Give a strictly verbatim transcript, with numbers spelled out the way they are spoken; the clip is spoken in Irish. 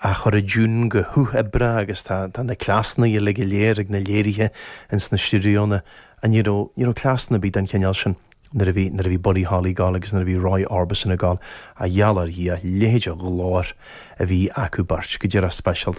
a chur i dtiún go huathoibríoch agus tá tá na cleasanna uilig go léir ag na léirithe ins na stiúideonna a ní raibh ní raibh cleasanna ar bith den chineál sin nuair a bhí nuair a bhí Buddy Holly ag gabháil agus nuair a bhí Roy Orbison ag gabháil a gheall ar Dhia leithéid de ghlór a bhí acu beirt go díreach speisialta.